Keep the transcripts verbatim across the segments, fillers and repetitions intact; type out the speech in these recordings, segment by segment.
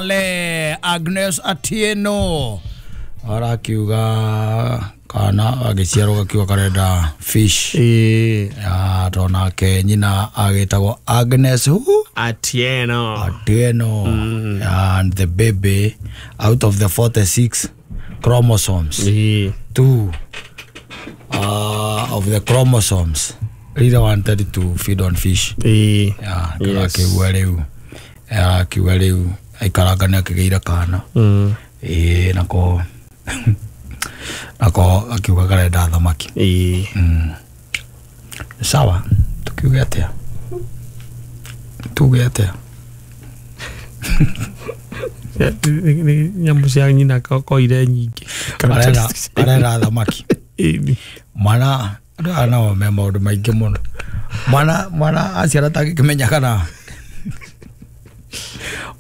Pale Agnes Atieno arakiuga kana agiciarwo gakiuga karenda fish. Eh. Ya tonake nyina agitagwo Agnes who? Atieno. Atieno. Mm. And the baby out of the forty-six chromosomes. Eh. Two uh, of the chromosomes really wanted to feed on fish. Eh. Ya Yes. akiuga riu akiuga riu aikaranga ni akigeira kana. Mm. Eh nako nako akiuga karenda thamaki. Eh. Mm. Sawa, tukiuge atia? Tuge atia? Nyamũ cia nyina koire nyingĩ. Arera arera thamaki. Ĩni. Mwana andũ aya nao me maũndũ maingĩ mũno. Mwana mwana aciara atangĩkĩmenya kana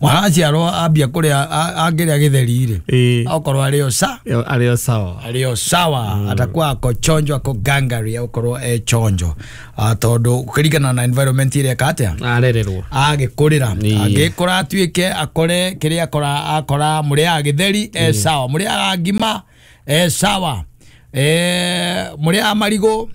mwana aciarwo ambia kũrĩa angĩrĩa gĩtheri rĩ. Ĩĩ. Okorwo arĩ o sa Arĩ o sawa. arĩ o sawa. Mm. Atakuwa ako chonjo ako gangari okorwo e chonjo. Tondũ kũringana na environment ĩrĩa eka atĩa Arererwo. agĩkũrĩra Ĩĩ. angĩkũra atuĩke akore kĩrĩa akora akora mũrĩaga gĩtheri e sawa, mũrĩaga ngima e sawa, e mũrĩaga marigũ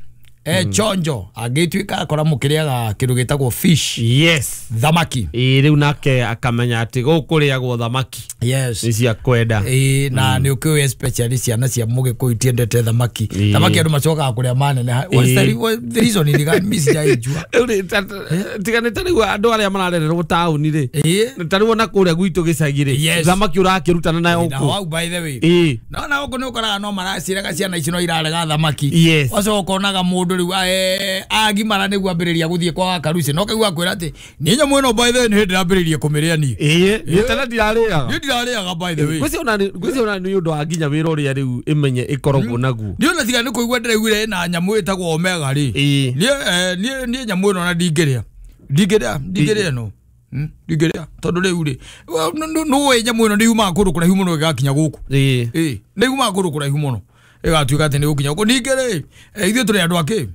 e chonjo. Angĩtuĩka akora mũkĩrĩaga kĩndũ gĩtagwo fish. Yes. Thamaki. Ĩĩ rĩu nake akamenya atĩ gũkũ kũrĩagwo thamaki. Yes. Nĩ cia kwenda. Ĩĩ na nĩ ũkĩũĩ especially ciana cia mũgĩkũyũ itiendete thamaki. Ĩĩ. Thamaki andũ macokaga kũrĩa maneneha. What's the what the reason ni gani mimi sijaijua. Rĩu rĩ, ta- tiga nĩ ta rĩu andũ arĩa mararererwo taũni rĩ. Ĩĩ. Ta rĩu ona kũrĩa gwitũ gĩcagi rĩ. Yes. Thamaki ũrakĩrutana nayo Na kũ. hau by the way. Ĩĩ. No na gũkũ nĩ ũkoraga no maraciraga ciana ici no irarega thamaki. Yes. Wacoka ũkonaga mũndũ rĩu eh, agimara nĩguo ambĩrĩria gũthiĩ kwa karuci no kaigua kwĩra atĩ niĩ nyamũ ĩno by the way nĩ hĩndĩ ndambĩrĩirie kũmĩrĩa niĩ. Ĩĩ. Niĩ tene ndirarĩaga. Niĩ ndirarĩaga by the way. Ngwĩciria ona nĩ- ngwĩciria ona nĩ ũndũ wa nginya wĩra ũrĩa rĩu ĩmenye ĩkoragwo naguo. Niĩ ona tiga nĩ kũigua ndĩraiguire ĩna nyamũ ĩtagwo omega rĩ. Ĩĩ. Niĩ eh, niĩ niĩ nyamũ ĩno ona ndingĩrĩa. Ndingĩrĩa ndingĩrĩa ĩno. Hmm? Ndingĩrĩa tondũ rĩu rĩ nũĩ nyamũ ĩno nĩ yumaga kũndũ kũraihu mũno ĩgakinya gũkũ. Ĩĩ. Ĩĩ nĩ yumaga kũndũ kũraihu mũno ĩgatuĩka atĩ nĩ gũkinya gũkũ. Ningĩ rĩ eh, ithuĩ tũrĩ andũ akĩ?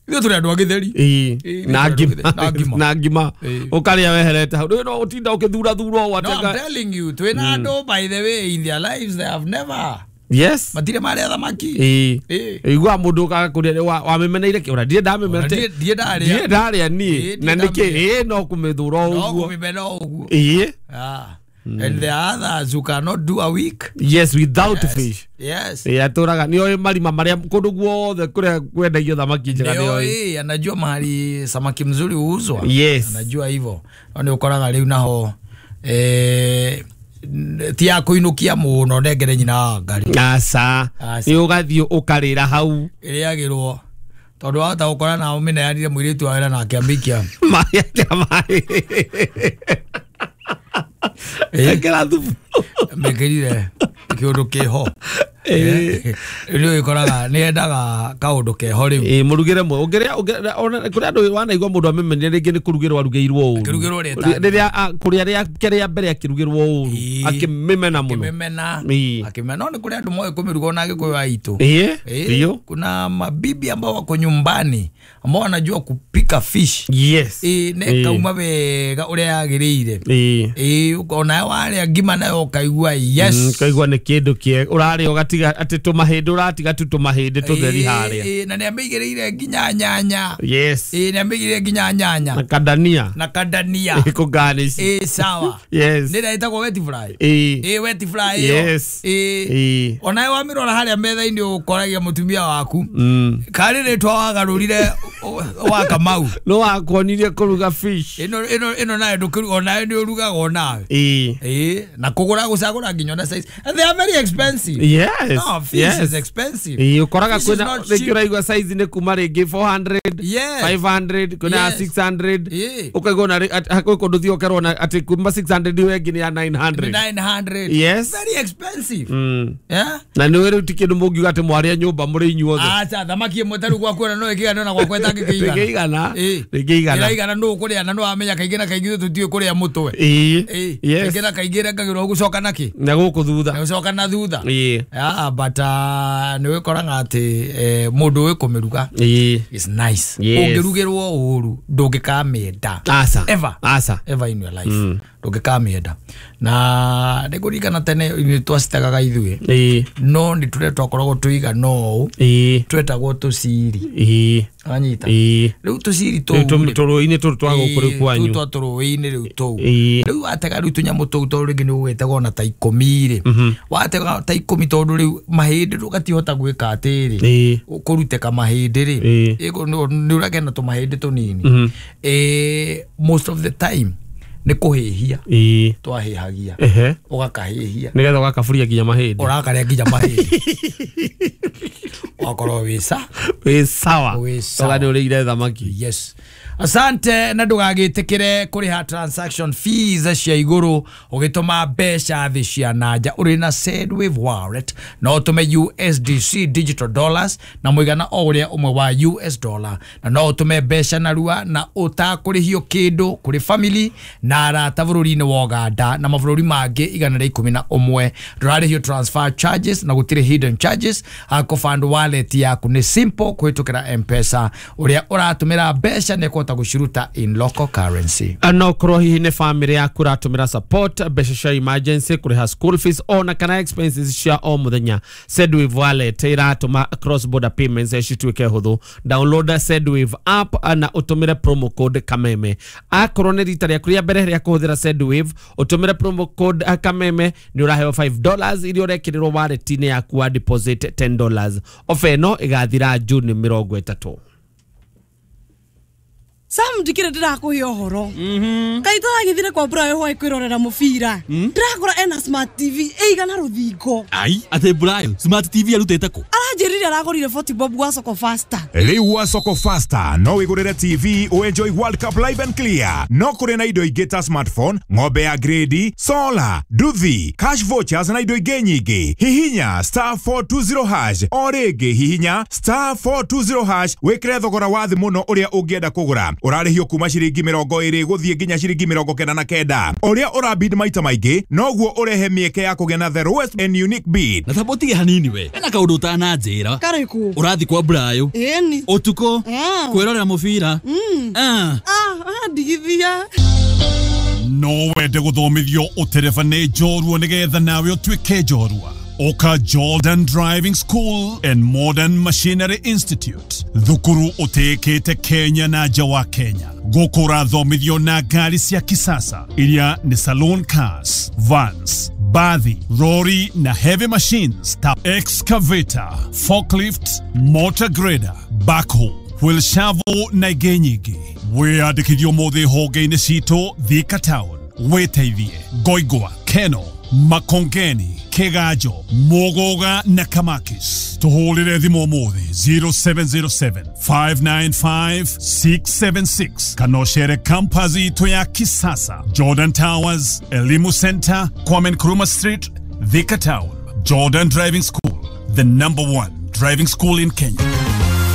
Ithuĩ tũrĩ andũ a gĩtheri. Ĩĩ. Ĩĩ, Na ngima. na ngima. Na ngima. Ĩĩ. Ũkarĩa weherete hau. Rĩu no ũtinda ũkĩthurathura ũũ No, I'm atĩ telling you, twĩna andũ by the way in their lives they have never Yes. matirĩ marĩa thamaki. Ĩĩ. Ĩĩ. Iguaga mũndũ ũkaga kũrĩa wa- wamĩmeneire kĩ ona ndirĩ ndamĩmena Ona ndiĩ ndarĩa. ndirĩ ndarĩa niĩ. Ĩĩ, Na ndirĩ nĩkĩ ndamĩrĩa. ĩĩ no kũmĩthũra No ũguo. kũmĩmena ũguo. Ĩĩ. Ah. And there are others who cannot do a week. Yes, without Yes. fish. Yes. Ĩĩ atũraga nĩ oĩ marima marĩa kũndũ guothe kũrĩa kwendagio thamaki njega nĩ oĩ. Ndio, anajua mahali samaki mzuri huuzwa. Yes. Anajua hivyo. Nĩ ũkoraga rĩu naho eh ti ya kũinũkia mũno ndengere nyina wa ngari. Aca. Aca. Nĩ ũgathiĩ ũkarĩra hau. Ĩrĩagĩrwo tondũ wahota gũkora na ũmĩneanire mũirĩtu wa wĩra nake amĩikia. Maĩ akĩra maĩ. Ĩĩ. Ekĩra thubu. Mekĩrire kĩũndũ kĩho. Ĩĩ. Rĩu ĩkoraga nĩ endaga kaũndũ keho rĩu. Ĩĩ mũrugĩre mwe ũngĩrĩa ũngĩrĩa ona kũrĩa andũ wanaigua mũndũ amĩmenire rĩngĩ nĩ kũrugĩrwo arugĩirwo ũru. Akĩrugĩrwo rĩa Rĩrĩa a- kũrĩa rĩake rĩa mbere akĩrugĩrwo ũru Ĩĩ. akĩmĩmena mũno. Akĩmĩmena. Ĩĩ. Akĩmena no nĩ kũrĩ andũ moĩ kũmĩruga ona Agĩkũyũ aitũ. Ĩĩ. Eh, Biũ. kuna mabibi ambao wako nyumbani ambao wanajua kupika fish. Yes. Ĩĩ na Ĩĩ. ĩkauma wega ũrĩa yagĩrĩire. Ĩĩ. Ĩĩ ona warĩa ngima nayo ũkaigua yes. Mm, ũkaigua nĩ kĩndũ kĩega ũrarĩa ũgatiga atĩ tũmahĩndĩ ũratiga tu tũmahĩndĩ tũtheri harĩa. Ĩĩ na nĩamĩigĩrĩire nginya nyanya. Yes. Ĩĩ nĩamĩigĩrĩire nginya nyanya Na kadania. na kadania. Ĩkũgarnish. Ĩĩ sawa. Yes. Nĩ ĩrĩa ĩtagwo wet fry. Ĩĩ. Ĩĩ wet fry ĩyo. Yes. Ĩĩ. Ĩĩ. Onawe wamĩrora harĩa metha-inĩ ũkoragia mũtumia waku. Mm. Karĩ rĩtwa wagarũrire wa Kamau. No wakuonirie kũruga fish. Ĩno ĩno ĩno nayo ndũkĩruga onawe nĩ ũrugaga onawe. Ĩĩ. Ĩĩ na kũgũra gũcagũra nginya ona size. And they are very expensive. Yes. No, fish yes. is expensive. Ĩĩ ũkoraga Fish is kwĩna not rĩngĩ cheap. ũraigua size nĩ kuma rĩngĩ four hundred, Yes. five hundred, kwĩna Yes. six hundred. Ĩĩ. Ũkaigua ona rĩ- at- kwĩ kũndũ ũthiĩ ũkerwo ona atĩ kuma six hundred ĩyo ĩngĩ nĩ ya nine hundred. nine hundred. Yes. Very expensive. Mm. Yeah. Na nĩ rĩu ti kĩndũ mũngiuga atĩ mwarĩa nyũmba mũrĩ inyuothe. Acha thamaki ĩmwe tarĩu gwaku ona no ĩkĩigana ona gwakwa ĩtangĩkĩigana. Ndĩngĩigana. Ĩĩ. Ndĩngĩigana. Ĩraigana nũ ũkũrĩa na nĩ wamenya kaingĩ na kaingĩ ithuĩ tũtiũĩ kũrĩa mũtwe. Ĩĩ. Ĩĩ. Yes. Kaingĩ na kaingĩ ĩrengagĩrwo gũcoka nakĩ? Na gũkũ thutha. Na gũcoka na thutha. Ĩĩ. Yeah, but uh, nĩ wĩkoraga atĩ eh, mũndũ ũĩ kũmĩruga Ĩĩ. is nice. Yes. Ũngĩrugĩrwo ũru ndũngĩkamĩenda. Aca. Ever. Aca. Ever in your life. Mm. Ndũngĩkamĩenda. Na nĩngũririkana tene nĩ twacitegaga ithuĩ, Ĩĩ. no nĩ tũrĩa twakoragwo tũigana ũũ, Ĩĩ. twetagwo tũciri. Ĩĩ. Anyita? Ĩĩ. Rĩu tũciri Rĩu tũu tũ- tũrũĩ-inĩ tũtũ twa gũkũ rĩu kwanyu. Tũu twa tũrũĩ-inĩ rĩu tũu. Ĩĩ. Rĩu watega rĩu tũnyamũ tũu, tondũ rĩngĩ nĩ ũgwĩtega ona ta ikũmi rĩ, watega ta ikũmi, tondũ rĩu mahĩndĩ ndũgatihota gwĩka atĩrĩ, Ĩĩ. kũrutĩka mahĩndĩ rĩ, Ĩĩ. ĩkũ- nĩ nĩ ũragĩa na tũmahĩndĩ tũnini. Eh, most of the time nĩ kũhĩhia Ĩĩ. twahĩhagia. Ehe. Ũgakahĩhia Nĩgetha ũgakaburia nginya mahĩndĩ. Ũrakarĩa nginya mahĩndĩ, ũgakorwo wĩ sa Wĩ sawa. Wĩ sawa. Toga nĩ ũrĩire thamaki. Yes, asante. Na ndũgagĩtĩkĩre kũrĩha transaction fees cia igũrũ ũgĩtũma mbeca thĩ cia nanja. Ũrĩ na Sendwave Wallet no ũtũme U S D C digital dollars na mũigana o ũrĩa ũmwe wa U S dollar, na no ũtũme mbeca narua na ũtakũrĩhio kĩndũ kũrĩ family na arata bũrũri-inĩ wa Uganda na mabũrũri mangĩ igana rĩa ikũmi na ũmwe. Ndũrarĩhio transfer charges na gũtirĩ hidden charges. Kũfund wallet yaku nĩ simple kũhĩtũkĩra M-Pesa. Ũrĩa ũratũmĩra mbeca nĩ ekũhota gũciruta in local currency. No korwo hihi nĩ family yaku ũratũmĩra support, mbeca cia emergency, kũrĩha school fees ona kana expenses cia o mũthenya, Sendwave Wallet ĩratũma cross border payments cituĩke hũthũ. Download Sendwave app na ũtũmĩre promo code Kameme. Akorwo nĩ rita rĩaku rĩa mbere rĩa kũhũthĩra Sendwave, ũtũmĩre promo code Kameme nĩ ũraheo five dollars iria ũrekĩrĩrwo wallet-inĩ yaku wa deposit ten dollars. Ofa ĩno ĩgathira June mĩrongo ĩtatũ. Sam, ndikire ndirakuhe ũhoro. Kaĩ tũragĩthire kwa Burayo hwaĩ kwĩrorera mũbira, ndĩrakora ena smart T V ĩigana rũthingo. Ai, atĩ Burayo smart T V arutĩte kũ? Aranjĩrire aragũrire forty bob gwa Soko Fasta. Rĩu wa Soko Fasta no wĩgũrĩre T V ũenjoy World Cup live and clear. No kũrĩ na indo ingĩ ta smartphone, ng'ombe ya grade, solar, nduthi, cash vouchers na indo ingĩ nyingĩ. Hihinya star four two zero hash o rĩngĩ, hihinya star four two zero hash wĩkĩre thogora wa thĩ mũno ũrĩa ũngĩenda kũgũra. Ũrarĩhio kuma ciringi mĩrongo ĩrĩ gũthiĩ nginya ciringi mĩrongo kenda na kenda. Ũrĩa ũrabid maita maingĩ noguo ũrehe mĩeke ya kũgĩa na the lowest and unique bid. Na tamba ũtige hanini, we ena kaũndũ ũtananjĩra. Karĩkũ? Ũrathi kwa Burayo Ĩni. ũtukũ Ah. kwĩrorera mũbira? Ah. Ah, ndigithia. No wende gũthomithio ũtereba nĩ njorua nĩgetha nawe ũtuĩke njorua? Ũka Jordan Driving School and Modern Machinery Institute, thukuru ũtĩĩkĩte Kenya na nja wa Kenya. Gũkũ ũrathomithio na ngari cia kisasa iria nĩ saloon cars, vans, bathi, lorry na heavy machines ta excavator, forklift, motor grader, backhoe, wheel shovel na ingĩ nyingĩ. Wĩyandĩkithio ũmũthĩ honge-inĩ citũ Thika Town, wĩteithie Ngoingwa, Keno, Makongeni, Kiganjo, Muguga na Kamakis. Tũhũrĩre thimũ ũmũthĩ zero seven zero seven, five nine five, six seven six kana ũcere campus itũ ya kisasa, Jordan Towers, Elimu Center, Kwame Nkrumah Street, Thika Town. Jordan Driving School, the number one driving school in Kenya.